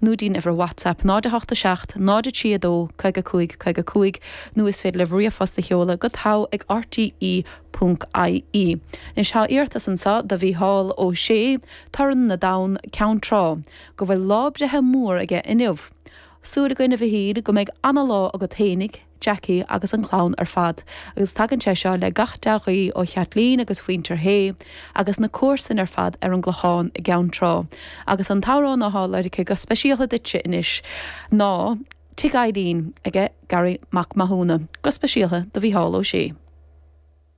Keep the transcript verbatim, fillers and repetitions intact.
nó dtí'n uimhir WhatsApp náid a hocht a seacht, náid a trí a dó, caoga cúig, caoga cúig, nó is féidir libh ríomhphost a sheoladh go togha ag rte ponc ie. Anois tá iarratas anseo do Mhícheál Ó Sé, Torann na dTonn, Ceann Trá, go bhfuil lá breithe mór aige inniu. Súil againn a Mhichíl go mbeidh ana-lá agat fhéinig, Jackie agus an chlann ar fad, agus tagann sé seo le gach dea-ghuí ó Chaitlín agus mhuintir Shé agus na comharsain ar fad ar an gClochán i gCeann Trá. Agus an t-amhrán atá lorgtha go speisialta duitse anois ná Tigh Eileen aige Garry Mac Mathúna, go speisialta do Mhícheál Ó Sé.